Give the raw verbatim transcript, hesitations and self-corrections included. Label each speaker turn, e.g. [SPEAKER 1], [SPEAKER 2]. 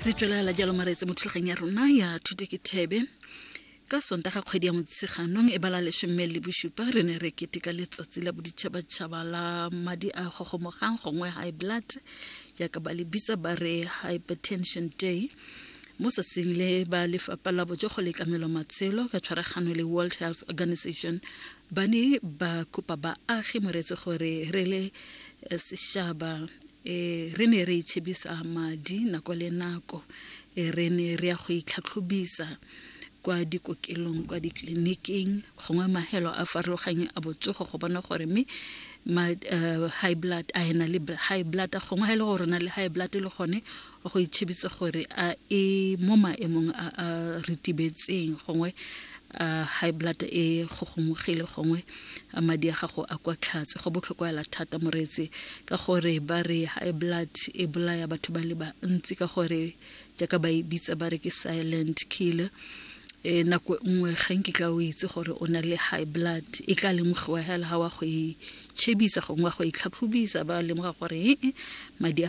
[SPEAKER 1] Re tswelela jalo maretse mo thulaganyong ya rona ya Thuto ke Thebe. Ka Sontaga kgwedi ya Motsheganong e bala lesome le bosupa, re ne re keteka Letsatsi la Boditšhabatšhaba la Madi a Gogomogang, gongwe high blood jaaka ba le bitsa, ba re Hypertension Day. Mo tsatsing le, ba Lefapha la Botsogo le Tlamelo Matshelo ka tshwaragano le World Health Organization ba ne ba kopa baagi, moretse, gore re le eh, sešaba um re ne re itšhebisa madi nako le nako, e re ne re ya go itlhatlhobisa kwa dikokelong, kwa ditleliniking gongwe mahelo a farologanyeng a botsogo, go bona gore mme ma, uh, high blood a ena le high blood, gongwe ha e le gore o na le high blood, le gone go itšhebisa gore a e mo maemong a a ritibetseng, gongwe uh, high blood e gogomogile, gongwe a madi a gago a kwa tlhatse. Go botlhokwa hela thata, moreetsi, ka gore ba re high blood e bolaya batho ba le bantsi, ka gore jaaka ba e bitsa ba re ke silent killer. E nako nngwe ga nkitla o itse gore o na le high blood, e tla lemogiwa hela ga wa go itšhebisa gongwe wa go itlhatlhobisa, ba lemoga gore ee, madi a